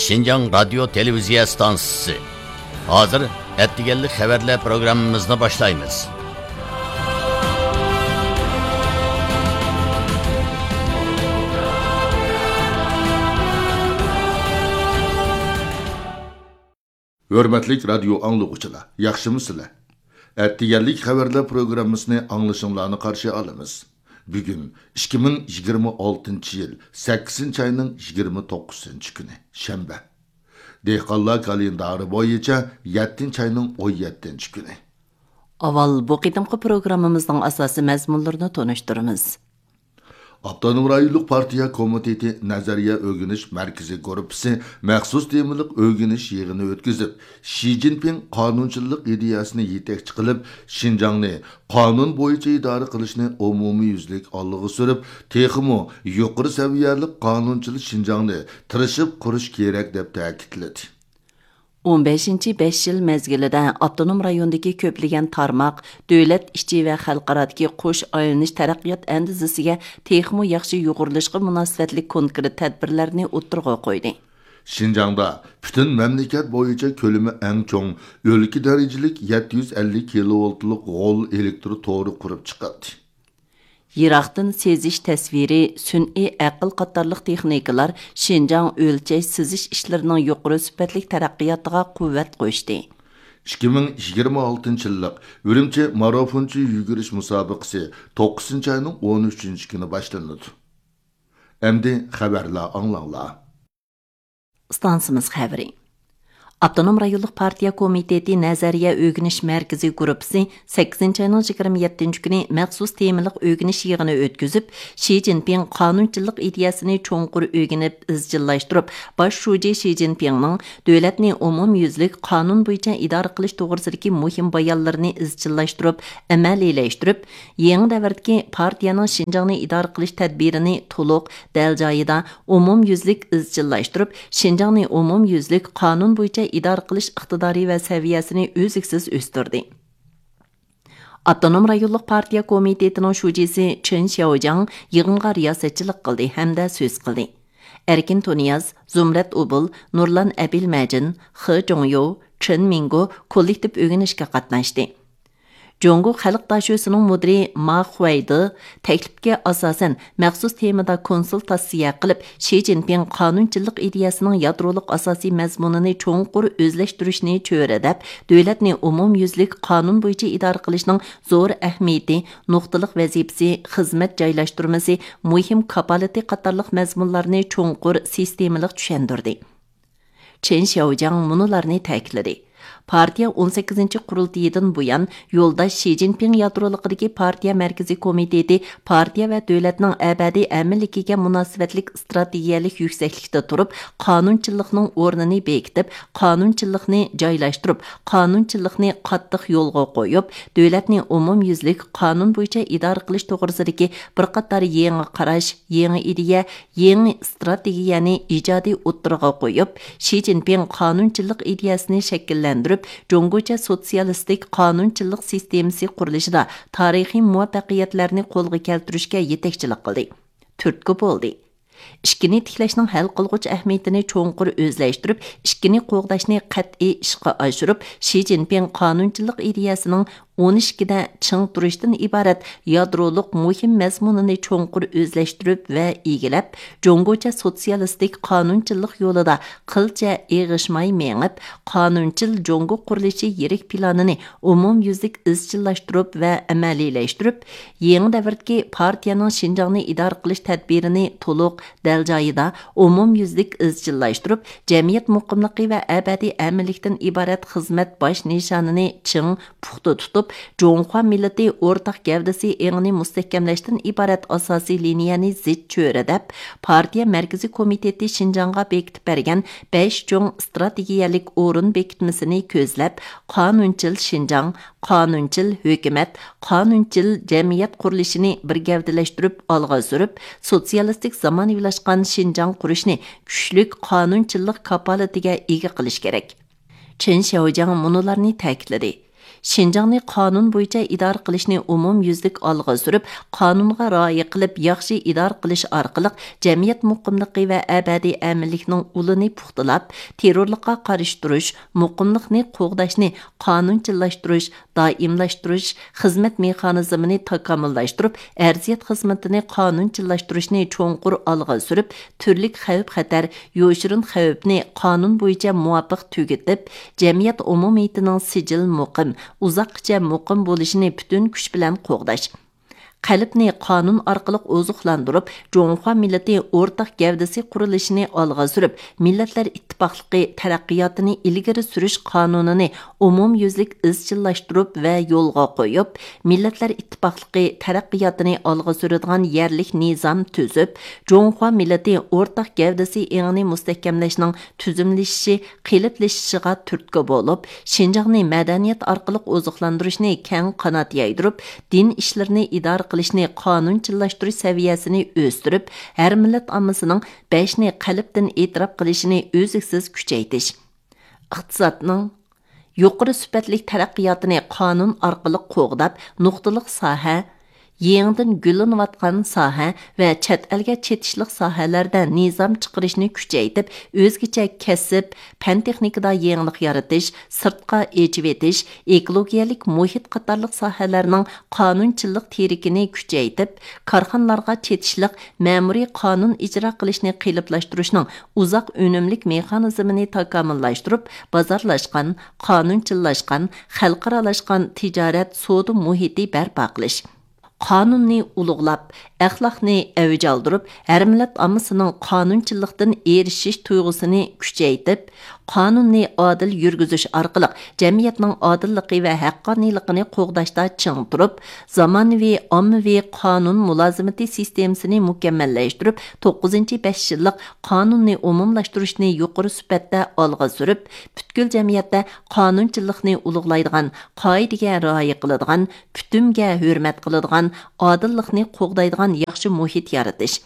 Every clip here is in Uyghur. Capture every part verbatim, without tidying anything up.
شىنجاڭ رادىيو تېلېۋىزىيە ئىستانسىسى. ھازىر ئەتىگەنلىك خەۋەرلەر پروگراممىمىزنى باشلايمىز. ھۆرمەتلىك رادىيو ئاڭلىغۇچىلار، ياخشىمۇسىلەر؟ ئەتىگەنلىك خەۋەرلەر پروگراممىسىنى ئاڭلىشىڭلارنى قارشى ئالىمىز. بۈگۈن ئىككى مىڭ يىگىرمە ئالتىنچى يىل سەككىزىنچى ئاينىڭ يىگىرمە توققۇزىنچى كۈنى، شەنبە. دېھقانلار كالېندارى بويىچە يەتتىنچى ئاينىڭ ئون يەتتىنچى كۈنى. ئاۋۋال بۇ قېتىمقى پروگراممىمىزنىڭ ئاساسىي مەزمۇنلىرىنى تونۇشتۇرىمىز. ئاپتونوم رايونلۇق پارتىيە كومىتېتى نەزەرىيە ئۆگىنىش مەركىزى گۇرۇپپىسى مەخسۇس تېمىلىق ئۆگىنىش يىغىنى ئۆتكۈزۈپ، شى جىنپىڭ قانۇنچىللىق ئىدىيەسىنى يېتەكچى قىلىپ، شىنجاڭنى قانۇن بويىچە ئىدارە قىلىشنى ئومۇميۈزلۈك ئالغا سۈرۈپ، تېخىمۇ يۇقىرى سەۋىيەلىك قانۇنچىل شىنجاڭنى تىرىشىپ قۇرۇش كېرەك، دەپ تەكىتلىدى. ئون بەشىنچى بەش يىل مەزگىلىدە ئاپتونوم رايوندىكى كۆپلىگەن تارماق دۆلەت ئىچى ۋە خەلقئارادىكى قوش ئايلىنىش تەرەققىيات ئەندىزىسىگە تېخىمۇ ياخشى يۇغۇرۇلۇشقا مۇناسىۋەتلىك كونكرېت تەدبىرلەرنى ئوتتۇرىغا قويدى. شىنجاڭدا پۈتۈن مەملىكەت بويىچە كۆلىمى ئەڭ چوڭ، ئۆلكە دەرىجىلىك يەتتە يۈز ئەللىك كىلوۋولتلۇق غول ئېلېكتر تورى قۇرۇپ چىقىلدى. يىراقتىن سېزىش تەسۋىرى، سۈنئىي ئەقىل قاتارلىق تېخنىكىلار شىنجاڭ ئۆلچەش سېزىش ئىشلىرىنىڭ يۇقىرى سۈپەتلىك تەرەققىياتىغا قۇۋۋەت قوشتى. ئىككى مىڭ يىگىرمە ئالتىنچى يىللىق ئۈرۈمچى مارافونچى يۈگۈرۈش مۇسابىقىسى توققۇزىنچى ئاينىڭ ئون ئۈچىنچى كۈنى باشلىنىدۇ. ئەمدى خەۋەرلەر ئاڭلاڭلار. ئىستانسىمىز خەۋىرى. ئاپتونوم رايونلۇق پارتىيە كومىتېتى نەزەرىيە ئۆگىنىش مەركىزى گۇرۇپپىسى سەككىزىنچى ئاينىڭ يىگىرمە يەتتىنچى كۈنى مەخسۇس تېمىلىق ئۆگىنىش يىغىنى ئۆتكۈزۈپ، شى جىنپىڭ قانۇنچىللىق ئىدىيەسىنى چوڭقۇر ئۆگىنىپ ئىزچىللاشتۇرۇپ، باش شۇجى شى جىنپىڭنىڭ دۆلەتنى ئومۇميۈزلۈك قانۇن بويىچە ئىدارە قىلىش توغرىسىدىكى مۇھىم بايانلىرىنى ئىزچىللاشتۇرۇپ ئەمەلىيلەشتۈرۈپ، يېڭى دەۋردىكى پارتىيەنىڭ شىنجاڭنى ئىدارە قىلىش تەدبىرىنى تولۇق، دەل جايىدا، ئومۇميۈزلۈك ئىزچىللاشتۇرۇپ، شىنجاڭنى ئومۇميۈزلۈك قانۇن بويىچە ئىدارە قىلىش ئىقتىدارى ۋە سەۋىيەسىنى ئۈزلۈكسىز ئۆستۈردى. ئاپتونوم رايونلۇق پارتىيە كومىتېتىنىڭ شۇجىسى چېن شياۋجياڭ يىغىنغا رىياسەتچىلىك قىلدى ھەمدە سۆز قىلدى. ئەركىن تۇنىياز، زۇمرەت ئۇبۇل، نۇرلان ئەبىلمەجىن، خې جۇڭيو، چېن مىڭگو كوللېكتىپ ئۆگىنىشكە قاتناشتى. جۇڭگو خەلق داشۆسىنىڭ مۇدىرى ما خۇەيدې تەكلىپكە ئاساسەن، مەخسۇس تېمىدا كونسۇلتاتسىيە قىلىپ، شى جىنپىڭ قانۇنچىللىق ئىدىيەسىنىڭ يادرولۇق ئاساسىي مەزمۇنىنى چوڭقۇر ئۆزلەشتۈرۈشنى چۆرىدەپ، دۆلەتنى ئومۇميۈزلۈك قانۇن بويىچە ئىدارە قىلىشنىڭ زور ئەھمىيىتى، نۇقتىلىق ۋەزىپىسى، خىزمەت جايلاشتۇرمىسى، مۇھىم كاپالىتى قاتارلىق مەزمۇنلارنى چوڭقۇر سىستېمىلىق چۈشەندۈردى. چېن شياۋجياڭ مۇنۇلارنى تەكىتلىدى: پارتىيە ئون سەككىزىنچى قۇرۇلتىيىدىن بۇيان، يولداش شى جىنپىڭ يادرولۇقىدىكى پارتىيە مەركىزىي كومىتېتى پارتىيە ۋە دۆلەتنىڭ ئەبەدىي ئەمىنلىكىگە مۇناسىۋەتلىك ئىستراتېگىيەلىك يۈكسەكلىكتە تۇرۇپ، قانۇنچىللىقنىڭ ئورنىنى بېكىتىپ، قانۇنچىللىقنى جايلاشتۇرۇپ، قانۇنچىللىقنى قاتتىق يولغا قويۇپ، دۆلەتنى ئومۇميۈزلۈك قانۇن بويىچە ئىدارە قىلىش توغرىسىدىكى بىر قاتار يېڭى قاراش، يېڭى ئىدىيە، يېڭى ئىستراتېگىيەنى ئىجادىي ئوتتۇرىغا قويۇپ، شى جىنپىڭ قانۇنچىللىق ئىدىيەسىنى شەكىللەندۈرۈپ، جۇڭگوچە سوتسىيالىستىك قانۇنچىلىق سىستېمىسى قۇرۇلۇشىدا تارىخىي مۇۋەپپەقىيەتلەرنى قولغا كەلتۈرۈشكە يېتەكچىلىك قىلدى، تۈرتكە بولدى. ئىككىنى تىكلەشنىڭ ھەل قىلغۇچ ئەھمىيىتىنى چوڭقۇر ئۆزلەشتۈرۈپ، ئىككىنى قوغداشنى قەتئىي ئىشقا ئاشۇرۇپ، شى جىنپىڭ قانۇنچىلىق ئىدىيەسىنىڭ ئون ئىككىدە چىڭ تۇرۇشتىن ئىبارەت يادرولۇق مۇھىم مەزمۇنىنى چوڭقۇر ئۆزلەشتۈرۈپ ۋە ئىگىلەپ، جۇڭگوچە سوتسىيالىستىك قانۇنچىلىق يولىدا قىلچە ئېغىشماي مېڭىپ، قانۇنچىل جۇڭگو قۇرۇلۇشى يىرىك پىلانىنى ئومۇميۈزلۈك ئىزچىللاشتۇرۇپ ۋە ئەمەلىيلەشتۈرۈپ، يېڭى دەۋردىكى پارتىيەنىڭ شىنجاڭنى ئىدارە قىلىش تەدبىرىنى تولۇق، دەل جايىدا، ئومۇميۈزلۈك ئىزچىللاشتۇرۇپ، جەمئىيەت مۇقىملىقى ۋە ئەبەدىي ئەمىنلىكتىن ئىبارەت خىزمەت باش نىشانىنى چىڭ، پۇختا تۇتۇپ، جۇڭخۇا مىللىتى ئورتاق گەۋدىسى ئېڭىنى مۇستەھكەملەشتىن ئىبارەت ئاساسىي لىنىيەنى زىچ چۆرىدەپ، پارتىيە مەركىزىي كومىتېتى شىنجاڭغا بېكىتىپ بەرگەن بەش چوڭ ئىستراتېگىيەلىك ئورۇن بېكىتمىسىنى كۆزلەپ، قانۇنچىل شىنجاڭ، قانۇنچىل ھۆكۈمەت، قانۇنچىل جەمئىيەت قۇرۇلۇشىنى بىر گەۋدىلەشتۈرۈپ ئالغا سۈرۈپ، سوتسىيالىستىك زامانىۋىلاشقان شىنجاڭ قۇرۇشنى كۈچلۈك قانۇنچىللىق كاپالىتىگە ئىگە قىلىش كېرەك. چېن شياۋجياڭ مۇنۇلارنى تەكىتلىدى: شىنجاڭنى قانۇن بويىچە ئىدارە قىلىشنى ئومۇميۈزلۈك ئالغا سۈرۈپ، قانۇنغا رىئايە قىلىپ، ياخشى ئىدارە قىلىش ئارقىلىق جەمئىيەت مۇقىملىقى ۋە ئەبەدىي ئەمىنلىكنىڭ ئۇلىنى پۇختىلاپ، تېررورلۇققا قارشى تۇرۇش، مۇقىملىقنى قوغداشنى قانۇنچىللاشتۇرۇش، دائىملاشتۇرۇش، خىزمەت مېخانىزمىنى تاكامۇللاشتۇرۇپ، ئەرزىيەت خىزمىتىنى قانۇنچىللاشتۇرۇشنى چوڭقۇر ئالغا سۈرۈپ، تۈرلۈك خەۋپ-خەتەر، يوشۇرۇن خەۋپنى قانۇن بويىچە مۇۋاپىق تۈگىتىپ، جەمئىيەت ئومۇمىيىتىنىڭ سىجىل مۇقىم، ئۇزاققىچە مۇقىم بولۇشىنى پۈتۈن كۈچ بىلەن قوغداش. قەلبنى قانۇن ئارقىلىق ئوزۇقلاندۇرۇپ، جۇڭخۇا مىللىتى ئورتاق گەۋدىسى قۇرۇلۇشىنى ئالغا سۈرۈپ، مىللەتلەر ئىتتىپاقلىقى تەرەققىياتىنى ئىلگىرى سۈرۈش قانۇنىنى ئومۇميۈزلۈك ئىزچىللاشتۇرۇپ ۋە يولغا قويۇپ، مىللەتلەر ئىتتىپاقلىقى تەرەققىياتىنى ئالغا سۈرىدىغان يەرلىك نىزام تۈزۈپ، جۇڭخۇا مىللىتى ئورتاق گەۋدىسى ئېڭىنى مۇستەھكەملەشنىڭ تۈزۈملىشىشى، قېلىپلىشىشىغا تۈرتكە بولۇپ، شىنجاڭنى مەدەنىيەت ئارقىلىق ئوزۇقلاندۇرۇشنى كەڭ قانات يايدۇرۇپ، دىن ئىشلىرىنى ئىدارە قىلىشنى قانۇنچىللاشتۇرۇش سەۋىيەسىنى ئۆستۈرۈپ، ھەر مىللەت ئاممىسىنىڭ بەشنى قەلبتىن ئېتىراپ قىلىشىنى ئۈزلۈكسىز كۈچەيتىش. ئىقتىسادنىڭ يۇقىرى سۈپەتلىك تەرەققىياتىنى قانۇن ئارقىلىق قوغداپ، نۇقتىلىق ساھە، يېڭىدىن گۈللىنىۋاتقان ساھە ۋە چەت ئەلگە چېتىشلىق ساھەلەردە نىزام چىقىرىشنى كۈچەيتىپ، ئۆزگىچە كەسىپ، پەن-تېخنىكىدا يېڭىلىق يارىتىش، سىرتقا ئېچىۋېتىش، ئېكولوگىيەلىك مۇھىت قاتارلىق ساھەلەرنىڭ قانۇنچىللىق تىرىكىنى كۈچەيتىپ، كارخانىلارغا چېتىشلىق مەمۇرىي قانۇن ئىجرا قىلىشنى قېلىپلاشتۇرۇشنىڭ ئۇزاق ئۈنۈملۈك مېخانىزمىنى تاكامۇللاشتۇرۇپ، بازارلاشقان، قانۇنچىللاشقان، خەلقئارالاشقان تىجارەت سودا مۇھىتى بەرپا قىلىش. قانۇننى ئۇلۇغلاپ، ئەخلاقنى ئەۋج ئالدۇرۇپ، ھەر مىللەت ئاممىسىنىڭ قانۇنچىللىقتىن ئېرىشىش تۇيغۇسىنى كۈچەيتىپ، قانۇننى ئادىل يۈرگۈزۈش ئارقىلىق جەمئىيەتنىڭ ئادىللىقى ۋە ھەققانىيلىقىنى قوغداشتا چىڭ تۇرۇپ، زامانىۋى ئاممىۋى قانۇن مۇلازىمىتى سىستېمىسىنى مۇكەممەللەشتۈرۈپ، توققۇزىنچى بەش يىللىق قانۇننى ئومۇملاشتۇرۇشنى يۇقىرى سۈپەتتە ئالغا سۈرۈپ، پۈتكۈل جەمئىيەتتە قانۇنچىللىقنى ئۇلۇغلايدىغان، قائىدىگە رىئايە قىلىدىغان، پۈتۈمگە ھۆرمەت قىلىدىغان، ئادىللىقنى قوغدايدىغان ياخشى مۇھىت يارىتىش.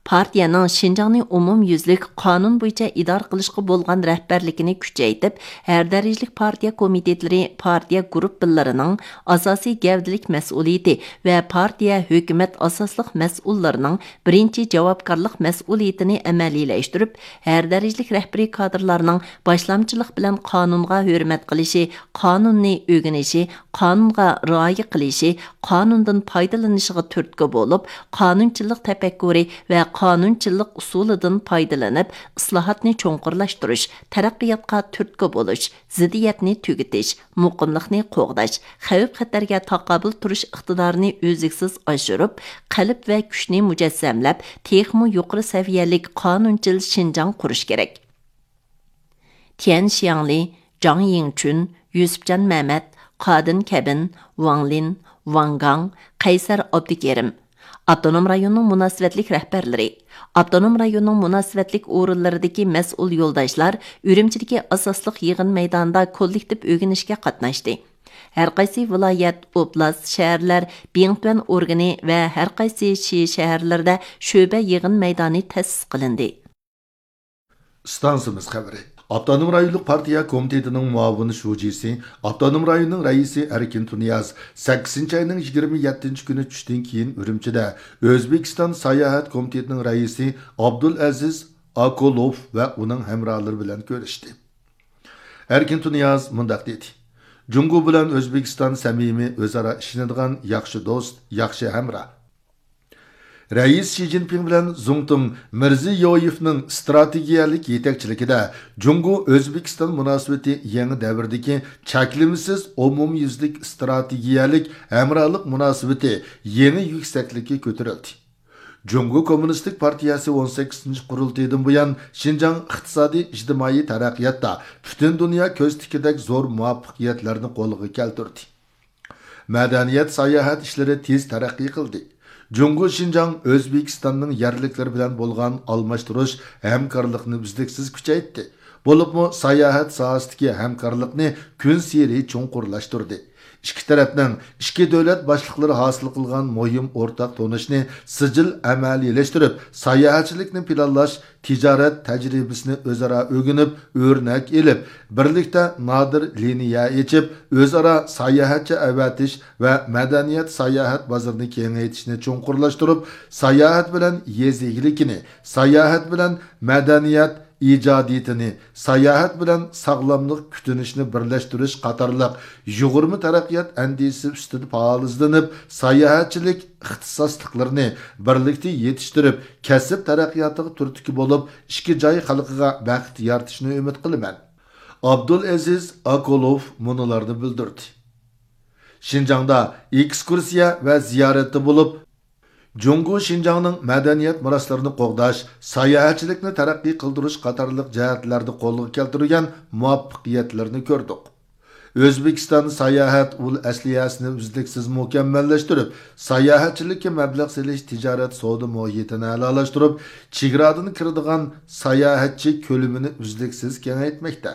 پارتىيەنىڭ شىنجاڭنى ئومۇميۈزلۈك قانۇن بويىچە ئىدارە قىلىشقا بولغان رەھبەرلىكىنى كۈچەيتىپ، ھەر دەرىجىلىك پارتىيە كومىتېتلىرى، پارتىيە گۇرۇپپىلىرىنىڭ ئاساسىي گەۋدىلىك مەسئۇلىيىتى ۋە پارتىيە، ھۆكۈمەت ئاساسلىق مەسئۇللىرىنىڭ بىرىنچى جاۋابكارلىق مەسئۇلىيىتىنى ئەمەلىيلەشتۈرۈپ، ھەر دەرىجىلىك رەھبىرىي كادىرلارنىڭ باشلامچىلىق بىلەن قانۇنغا ھۆرمەت قىلىشى، قانۇننى ئۆگىنىشى، قانۇنغا رىئايە قىلىشى، قانۇندىن پايدىلىنىشىغا تۈرتكە بولۇپ، قانۇنچىللىق تەپەككۇرى ۋە قانۇنچىللىق ئۇسۇلىدىن پايدىلىنىپ، ئىسلاھاتنى چوڭقۇرلاشتۇرۇش، تەرەققىياتقا تۈرتكە بولۇش، زىددىيەتنى تۈگىتىش، مۇقىملىقنى قوغداش، خەۋپ-خەتەرگە تاقابىل تۇرۇش ئىقتىدارىنى ئۈزلۈكسىز ئاشۇرۇپ، قەلب ۋە كۈچنى مۇجەسسەملەپ، تېخىمۇ يۇقىرى سەۋىيەلىك قانۇنچىل شىنجاڭ قۇرۇش كېرەك. تيەن شياڭلى، جاڭ يىڭچۈن، يۈسۈپجان مەمەت، قادىن كەبىن، ۋاڭ لىن، ۋاڭ گاڭ، قەيسەر ئابدۇكېرىم. ئاپتونوم رايوننىڭ مۇناسىۋەتلىك رەھبەرلىرى، ئاپتونوم رايوننىڭ مۇناسىۋەتلىك ئورۇنلىرىدىكى مەسئۇل يولداشلار ئۈرۈمچىدىكى ئاساسلىق يىغىن مەيدانىدا كوللېكتىپ ئۆگىنىشكە قاتناشتى. ھەرقايسى ۋىلايەت، ئوبلاست، شەھەرلەر بىڭتۈەن ئورگىنى ۋە ھەرقايسى شى شەھەرلىرىدە شۆبە يىغىن مەيدانى تەسىس قىلىندى. ئىستانسىمىز خەۋىرى. ئاپتونوم رايونلۇق پارتىيە كومىتېتىنىڭ مۇئاۋىن شۇجىسى، ئاپتونوم رايوننىڭ رەئىسى ئەركىن تۇنىياز سەككىزىنچى ئاينىڭ يىگىرمە يەتتىنچى كۈنى چۈشتىن كېيىن ئۈرۈمچىدە ئۆزبېكىستان ساياھەت كومىتېتىنىڭ رەئىسى ئابدۇلئەزىز ئاكولوف ۋە ئۇنىڭ ھەمراھلىرى بىلەن كۆرۈشتى. ئەركىن تۇنىياز مۇنداق دېدى: جۇڭگو بىلەن ئۆزبېكىستان سەمىمىي، ئۆزئارا ئىشىنىدىغان ياخشى دوست، ياخشى ھەمراھ. رەئىس شى جىنپىڭ بىلەن زۇڭتۇڭ مىرزىيويېۋنىڭ ئىستراتېگىيەلىك يېتەكچىلىكىدە جۇڭگو ئۆزبېكىستان مۇناسىۋىتى يېڭى دەۋردىكى چەكلىمىسىز ئومۇميۈزلۈك ئىستراتېگىيەلىك ھەمراھلىق مۇناسىۋىتى يېڭى يۈكسەكلىككە كۆتۈرۈلدى. جۇڭگو كوممۇنىستىك پارتىيەسى ئون سەككىزىنچى قۇرۇلتىيىدىن بۇيان شىنجاڭ ئىقتىسادىي ئىجتىمائىي تەرەققىياتتا پۈتۈن دۇنيا كۆز تىكىدەك زور مۇۋەپپەقىيەتلەرنى قولغا كەلتۈردى. مەدەنىيەت، ساياھەت ئىشلىرى تېز تەرەققىي قىلدى. جۇڭگو شىنجاڭ ئۆزبېكىستاننىڭ يەرلىكلىرى بىلەن بولغان ئالماشتۇرۇش، ھەمكارلىقنى ئۈزلۈكسىز كۈچەيتتى. بولۇپمۇ ساياھەت ساھەسىدىكى ھەمكارلىقنى كۈنسېرى چوڭقۇرلاشتۇردى. ئىككى تەرەپنىڭ ئىككى دۆلەت باشلىقلىرى ھاسىل قىلغان مۇھىم ئورتاق تونۇشنى سىجىل ئەمەلىيلەشتۈرۈپ، ساياھەتچىلىكنى پىلانلاش، تىجارەت تەجرىبىسىنى ئۆزئارا ئۆگىنىپ، ئۆرنەك ئېلىپ، بىرلىكتە نادىر لىنىيە ئېچىپ، ئۆزئارا ساياھەتچى ئەۋەتىش ۋە مەدەنىيەت ساياھەت بازىرىنى كېڭەيتىشنى چوڭقۇرلاشتۇرۇپ، ساياھەت بىلەن يېزا ئىگىلىكىنى، ساياھەت بىلەن مەدەنىيەت ئىجادىيىتىنى، ساياھەت بىلەن ساغلاملىق كۈتۈنۈشنى بىرلەشتۈرۈش قاتارلىق يۇغۇرما تەرەققىيات ئەندىزىسى ئۈستىدە پائال ئىزدىنىپ، ساياھەتچىلىك ئىختىساسلىقلىرىنى بىرلىكتە يېتىشتۈرۈپ، كەسىپ تەرەققىياتىغا تۈرتكە بولۇپ، ئىككى جاي خەلقىگە بەخت يارىتىشنى ئۈمىد قىلىمەن. ئابدۇلئەزىز ئاكولوف مۇنۇلارنى بىلدۈردى. شىنجاڭدا ئېكسكۇرسىيە ۋە زىيارەتتە بولۇپ، جۇڭگو شىنجاڭنىڭ مەدەنىيەت مىراسلىرىنى قوغداش، ساياھەتچىلىكنى تەرەققىي قىلدۇرۇش قاتارلىق جەھەتلەردە قولغا كەلتۈرگەن مۇۋەپپەقىيەتلىرىنى كۆردۇق. ئۆزبېكىستان ساياھەت ئۇل ئەسلىھەسىنى ئۈزلۈكسىز مۇكەممەللەشتۈرۈپ، ساياھەتچىلىككە مەبلەغ سېلىش تىجارەت سودا مۇھىتىنى ئەلالاشتۇرۇپ، چېگرادىن كىرىدىغان ساياھەتچى كۆلىمىنى ئۈزلۈكسىز كېڭەيتمەكتە.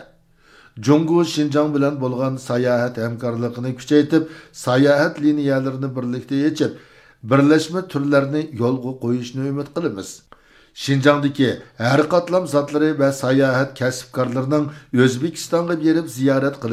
جۇڭگو شىنجاڭ بىلەن بولغان ساياھەت ھەمكارلىقىنى كۈچەيتىپ، ساياھەت لىنىيەلىرىنى بىرلىكتە ئېچىپ، بىرلەشمە تۈرلەرنى يولغا قويۇشنى ئۈمىد قىلىمىز. شىنجاڭدىكى ھەر قاتلام زاتلىرى ۋە ساياھەت كەسىپكارلىرىنىڭ ئۆزبېكىستانغا بېرىپ زىيارەت